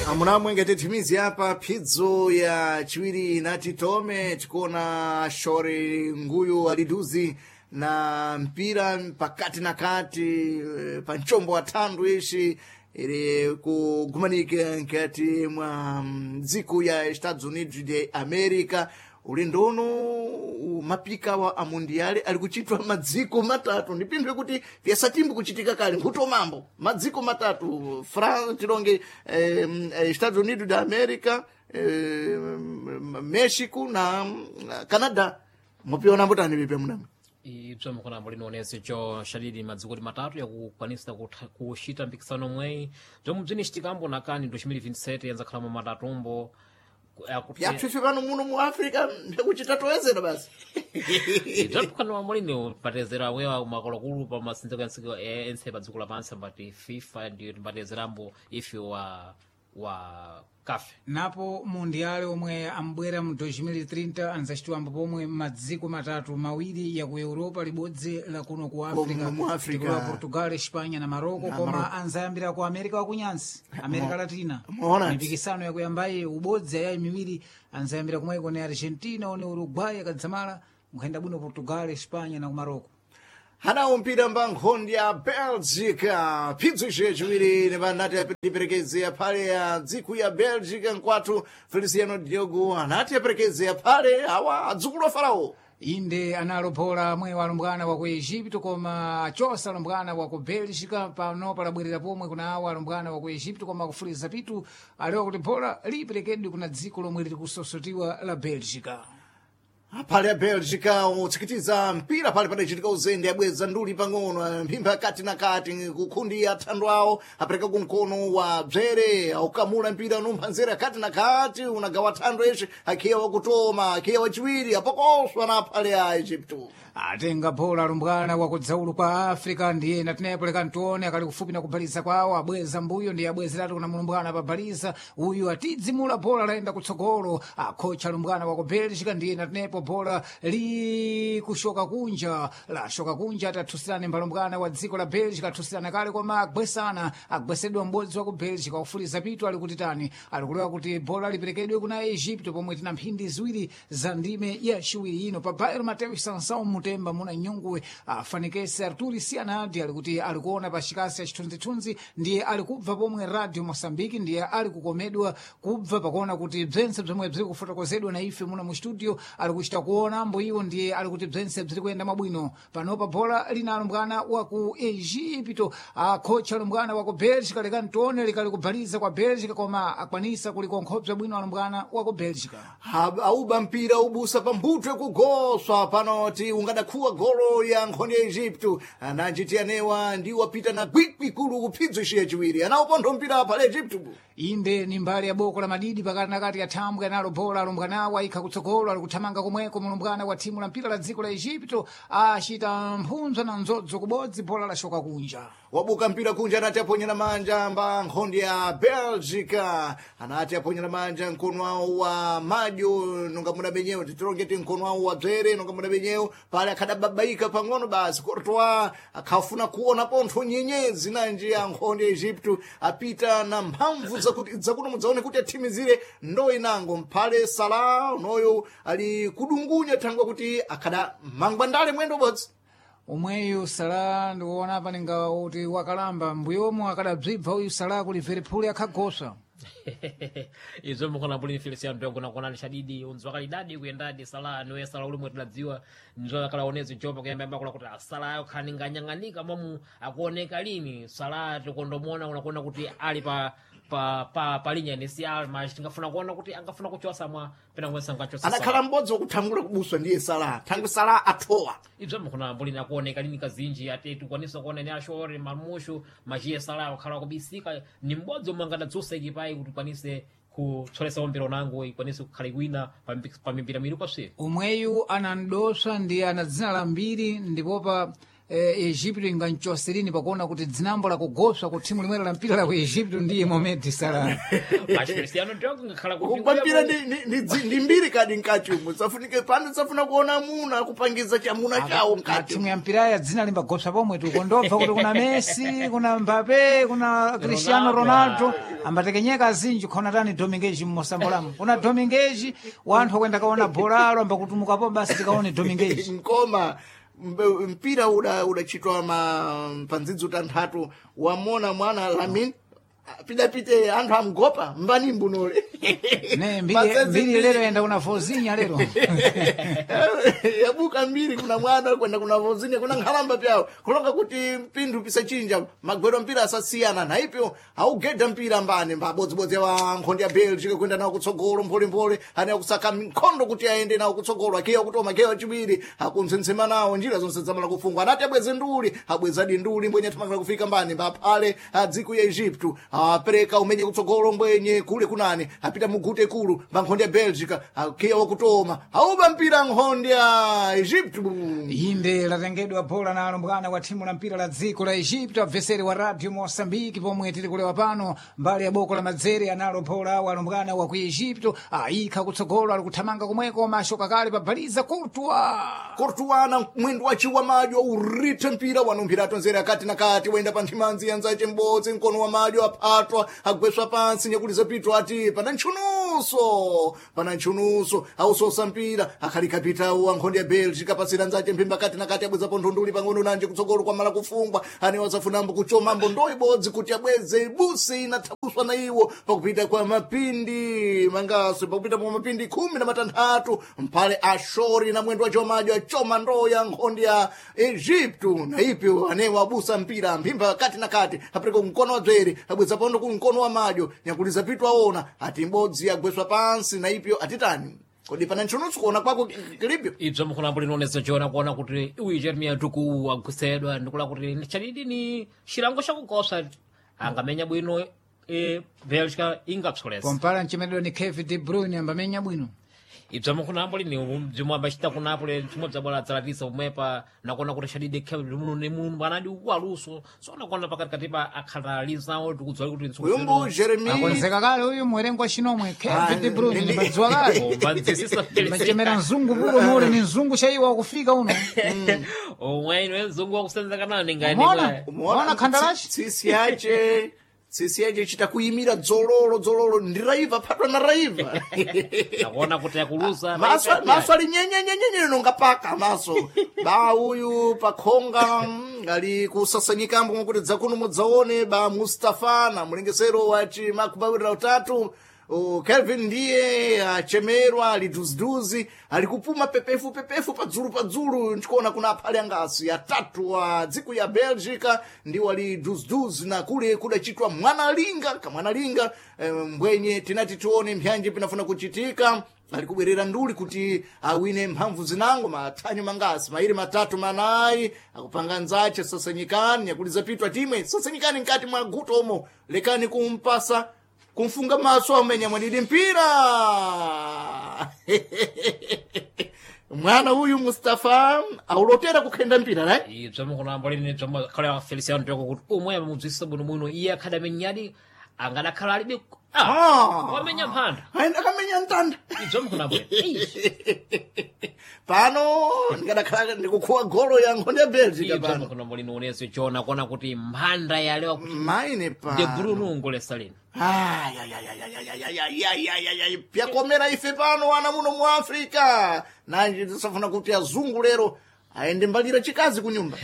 Amunamwe ngati timizi apa phidzo ya chiwiri inati tome tikuona shore nguyu aliduzi na mpira pakati na kati pa mchombo wa thandu ishi ili kugumanika nkati mwa dziko ya Estados Unidos de America. Ulendo uno mapika wa amundiale ali kuchitwa madziko matatu, ndipindwe kuti vyasatimbu kuchitika kale nkhuto mambo madziko matatu France tilonge Estados Unidos de America, Mexico na Canada. Mupiona mbotani vipe munamwe? Ibzo mukona mulinoonese cho shadidi madziko matatu yakukwanisa kuxita mpikisano mweyi bzomwe bzinicitikambo nakani 2027 yanzakhalamo matatumbo. Yapfipfi pano muno mu Africa ndikuchita toyezera basi. Bzamphukano mulini patezera wewa makulukulu pa masinziko ensiko ense pa dziko lapansi ambati FIFA ndiyo timbatezerambo ife wa kafe. Napo mundiale omwe ambwera mu 2030 anzacitiwambo pomwe madziko matatu, mawiri ya ku Europa, libodzi la kuno ku Africa, mu Africa. Tikulowa Portugal, Espanha na Marocco, koma anzayambira ku America wakunyansi, America Latina. Muona. Mipikisano yakuyambayi ubodzi ayayi miwiri anzayambira kumweko ni Argentina one Uruguay akadzamala nkhayenda bwino Portugal, Espanha na ku Marocco. Hanawo mpira mba nkhondi ya Belgica, phidzo ice chiwiri nepanati aperekezea phale ya dziko ya Belgica nkwathu Feliciano Diogo anati aperekezea phale awa adzukulu a Farao. Inde analopola amwe alumbwana wa ku Egipto koma achosa alumbwana wa ku Belgica. Pano palabwerera pomwe kuna awo alumbwana wa ku Egipto koma kufuliza pitu alewa kuti bola liperekedwe kuna dziko lomwe liri kusosotiwa la Belgica. Phale ya Belgica utsikitiza mpira pale padachitika uzende abweza nduli pang'ono mphimba kati na kati kukhundi athando awo apereka kumkono wa bzere aukamula mpira unumpha nzere kati na kati unagawa thando eshe akhiya wakutoma akhiya wachiwiri apokoswa na phale ya Egypto. Atenga bola alumbwana wa kudzaulu kwa Africa ndiye natenepo leka ntione akali kufupi na kubaliza kwawo abweza mbuyo ndiye abwezeratu kuna mulumbwana pabaliza uyu atidzimula bola layenda kutsogolo akhocha alumbwana wa ku Belgica ndiye natenepo bola likushoka kunja lashoka kunja atathusirane mbalumbwana wa dziko la Belgica athusirana kale koma agwesana agwesedwa m'bodzi wa ku Belgica wakufuliza pitu ali kuti tani alikulewa kuti bola liperekedwe kuna Egypto pomwe tina mphindi ziwiri za ndime ya chiwiri ino pa Bairo Mateus Sansão Mutemba muna nyunguwe afanikese Arturi Sianadi ali kuti alikuona pa chikasi ya chithunzithunzi ndiye ali kubva pomwe Radio Mosambiki ndiye ali kukomedwa kubva pakuona kuti bzentse bzomwe bziri kufotokozedwa na ife muno mu studio ali kuchita kuona mbo iwo ndiye ali kuti bzentse bziri kuyenda mwabwino. Panopa bola lina alumbwana wa ku Egipto akhocha alumbwana wa ku Belgica lekani tione likali kubaliza kwa Belgica koma akwanisa kulikonkhobza bwino alumbwana wa ku Belgica. Auba mpira ubusa pambutwe kugoswa panoti ungadakhuwa golo ya nkhondo ya Egypto ananjiti anewa ndi wapita na kwikwi kulu kuphidzo ishi yachiwiri anaupontho mpira pale Egypto. Inde ni mbali ya boko la madidi pakati na kati ya thambwe analo bola alumbwanawo ayikha kutsogolo ali kuthamanga komweko mulumbwana wa thimu la mpira la dziko la Egipto achita mphunzwa na nzodzo kubodzi bola lashoka kunja. Wabuka mpira kunja anati aponyera manja mba nkhondo ya Belgica anati aponyera manja mkono wawo wa madyo nonga muna benyewo titilongeti mkono wawo wa bzere nonga muna benyewo pale akhadababaika pang'ono basi Courtois akhafuna kuona pontho nyenyezi nanji ya nkhondo ya Egypto apita na mphamvu zakuti zakuno mudzaone kuti athimizire ndo inango mphale Salah unoyo ali kudungunya thangwa kuti akhada mangwandale mwendo bodzi. Omweyu Salah ndikuona apa ninga kuti wakalamba mbuyomo akadabzibva uyu Salah ku Liverpool akhagoswa. Izo mukona buli Feliciano Diogo nakuonani shadidi unzwa kalidadi kuyendadi Salah niwe Salah ulimwe tiladziwa nzo akalaonezi jopa kuyamba yamba kula kuti Salah ayo khaninganyang'anika mamu akuoneka lini Salah tikondomona unakuona kuti ali pa pa pa palinya ni si alma tingafuna kuona kuti angafuna kuchosa mwa pena kuwesa ngachosa. Anakhala m'bodzi wakuthangula kubuswa ndiye Salah thangwi Salah athowa. Ibzo mukona mbuli nakuoneka lini kazinji ate tikwanisa kuona ni ashore mamushu machiye Salah akhala kubisika ni m'bodzi omwe angadadzusa ikipayi kuti ikwanise kutsolesa mpira unango ikwanise kukhala iwina pa mipira miwiri kwaswiri. Omweyu anandoswa ndiye ana dzina lambiri ndipopa Egipto inganchoserini pakuona kuti dzinambo lakugoswa ku thimu limwera la mpira la ku Egipto ndiye Mohamed Salah. Machi Cristiano Diogo ngakhala Kugwa mpira ndi mbiri kadi mkati umu safunike pano safuna kuona muna kupangiza chamuna chawo mkati. Timu ya mpira ya dzina limbagoswa pomwe tikondobva kuti kuna Messi, kuna Mbappe, kuna Cristiano Ronaldo. Ambatekenyeka azinji khona tani Dominguez mmosambolamo. Kuna Dominguez wanthu akwenda kaona bolalo ambakutumukapo basi tikaone Dominguez. Nkoma mpira udachitwa ma pandzidzo tanthatu wamona mwana Lamin pidapite anthu amgopa mbani mbunole. Ne mbiri mbiri lero yenda kuna Vozinha lero. Yabuka mbiri kuna mwana kwenda kuna Vozinha kuna nkhalamba pyawo kulonga kuti mpinthu pisachinja magwero mpira asasiyana naipyo augedha mpira mbani mbabodzibodzi wa nkhondo ya Belgium kwenda nawo kutsogolo mpholemphole ane akusaka nkhondo kuti aende nawo kutsogolo akiya kutoma kiya chiwiri akuntsensema nawo njira zonse zamala kufungwa anati abweze nduli abwezadi nduli mbwenye athamangira kufika mbani mbaphale adziko ya Egypto apereka umenye kutsogolo mbwenye kule kunani apita mugute kulu mba nkhondo ya Belgica akiya wakutoma auba mpira nkhondo ya Egypto. Inde latengedwa bola na alumbwana wa timu la mpira la dziko la Egypto abveseri wa Radio Mosambiki pomwe tili kulewa pano mbali ya boko la madzere analo bola wa alumbwana wa ku Egypto ayikha kutsogolo ali kuthamanga komweko mashoka kale pabaliza Courtois. Courtois mwendo wachiwa madyo urithe mpira wanumphira atonzera akati na kati wenda pa nthimanzi yanzace m'bodzi mkono wa madyo aphatwa agweswa pansi nyakuliza pitwa ati pana ntchunuso pana ntchunuso ausosa mpira akhalikapitawo wa nkhondo ya Belgica pasira nzace mphimba kati na kati abwezapo nthunduli pang'ono nanje kutsogolo kwamala kufungwa ane wazafunambo kuchomambo ndo ibodzi kuti abweze ibusi inathabuswa na iwo pakupita kwa mapindi mangaso pakupita kwa mapindi 16 mphale ashori na mwendo wacho madyo achoma ndoo ya nkhondo ya Egypto na ipyo anewo abusa mpira mphimba kati na kati apereka kumkono wa dzwere abweza pondo ku mkono wa madyo nyakuliza pitu aona ati mbodzi agweswa pansi na ipyo atitani kodi pana ntchunusu kuona kwako kilibyo. Ibzo mukhulambo linoonesa chona kuona kuti uyu Jeremiah Duku agwisedwa ndikula kuti chadidi ni chilango chakukosa angamenya bwino Belgica ingapsolesa. Kompala mchemedwa ni Kevin De Bruyne ambamenya bwino. Ibzo mukhulambo lini bzimwe ambacita kunapo bzimwe bzabwala dzalatisa pomwepa nakuona kuti chadidi Kevin muno ni munthu anadi waluso so nakuona pakatikati pa akhalalizawo tikudziwa kuti Uyumbu Jeremy Akonzeka kale uyu mwerengo wa chinomwe Kevin De Bruyne ndi- ni kale. mbanzisisa. Machemera mzungu pulo muli ni mzungu chaiwa wakufika uno. Omwe mzungu wakusenzeka nani Umeona? ngani. Umeona khandalashi? tsisi yace tsisi yace chita kuyimira dzololo dzololo ndi raiva phatwa na raiva. Nakuona kuti akuluza. Maso maso ali nyenyenyenyenye nonga paka maso ba uyu pakhonga ali kusasanyikambo mwakuti dzakuno mudzaone ba Mustafa na mlengesero wa chimakubawirira utatu. O, Kelvin ndiye achemerwa ali duziduzi ali kupuma pepefu pepefu padzulu padzulu ndikuona kuna aphale angasi atatu wa dziko ya Belgica ndiwo ali duziduzi na kule kudachitwa mwanalinga kamwanalinga mbwenye tinati tione mpyanji pinafuna kuchitika ali kubwerera nduli kuti awine mphamvu zinango mathanyo mangasi mairi matatu manayi akupanga nzache sasanyikani nyakuliza pitwa timwe sasanyikani mkati mwa guto omo lekani kumpasa kumfunga maso amenya mwadidi mpira. Mwana uyu Mustafa aulotera kukhenda mpira right. Ibzo mukunambo lini bzomwe Feliciano Diogo kuti umwe amamudzwisa bwinobwino iye akhadamenyadi angadakhala alibe wamenya mphanda. Aenda akamenya mtanda. Ibzo mukunambo Pano ndikadakhala ndikukhuwa golo ya nkhondo ya Belgica ibzo pano mukunambo lini uneso chona kuona kuti mphanda yalewa kuti maine De pano Bruyne ungolesa lino. Ayayayayayayayayayayayay pyakomera ife pano ana muno mu Africa nanji tisafuna kuti azungu lero aende mbalira chikazi kunyumba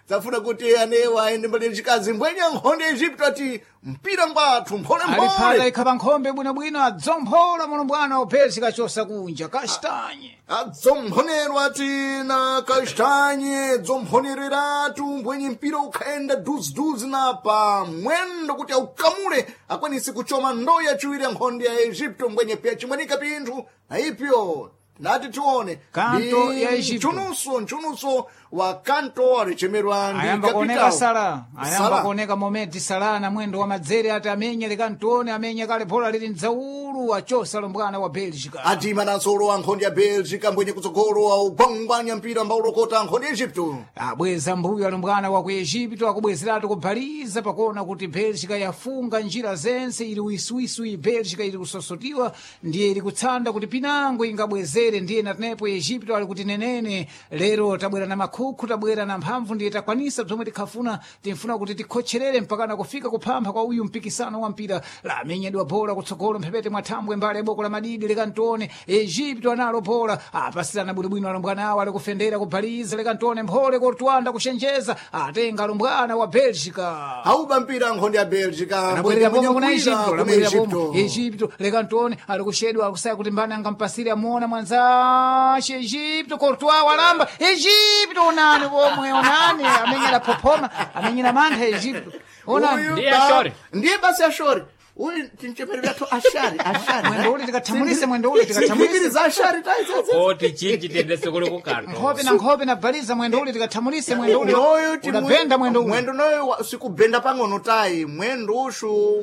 tafuna kuti anewa aende mbalira chikazi mbwenya nkhondo ya Egypto ati mpira ngwathu mphole Aliphala mphole. ikha pa nkhombe bwinobwino adzomphola mulumbwana wa Belgica chosa kunja kastanye. Adzomphonerwa ati na kastanye dzomphonereratu mbwenye mpira ukhaenda duziduzi na pa mwendo kuti aukamule akwanise kuchoma ndoo yachiwiri ya nkhondo ya Egypto mbwenye pya chimwanika pinthu na ipyo nati tione Kanto Ndi ya Egypto. nchunuso nchunuso wa kanto alichemerwa ndi Ayamba kuoneka kapitao Sala, ayamba Sala. kuoneka Mohamed Salah na mwendo wa madzere ati amenye likantione amenye kale bola lili mdzaulu achosa lumbwana wa Belgica. Adima nansolo wa nkhondo ya Belgica mbwenye kutsogolo augwangwanya mpira mbaulokota nkhondo ya Egypto. Abweza mbuyo alumbwana wa ku Egipto akubwezeratu kubhaliza pakuona kuti Belgica yafunga njira zense ili wiswiswi Belgica ili kusosotiwa ndiye ili kutsanda kuti pinango ingabwezere ndiye natenepo Egipto ali kuti nenene lero tabwera na makhukhu, tabwera na mphamvu ndiye takwanisa bzomwe tikhafuna. Timfuna kuti tikhotcherere mpakana kufika kuphampha kwa uyu mpikisano wa mpira. Lamenyedwa bola kutsogolo mphepete mwa thambwe mbali ya boko la madidi. Lekantone Egipto analo bola, apasirana bwinobwino alumbwana awo ali kufendera kubhaliza. Lekantone mphole kortwanda kuchenjeza, atenga alumbwana wa Belgica. Auba mpira nkhondo ya Belgica. Labwerera mwenye pomwe kuna mpira Egipto, kuna labwerera pomwe Egipto. Egipto. Lekantone ali kushedwa, akusaya kuti mbani angampasire, amuona mwanzace Egipto, Courtois walamba Egipto, onani pomwe, onani amenyera phophoma, amenyera mantha Egipto, onani. Uyu Ndiye ashori. Ndiye basi ashori. Uyu tinchemere vyathu ashari, ashari. Mwendo uli tikathamulise, mwendo uli tikathamulise. Sinkhikiri ashari taizeze. Oti chinji tiyendese kuli kukanto. Nkhope na nkhope na baliza mwendo uli tikathamulise, mwendo uli Noyo udabenda mwendo uli. mwendo noyo sikubenda pang'ono tayi mwendo ushu.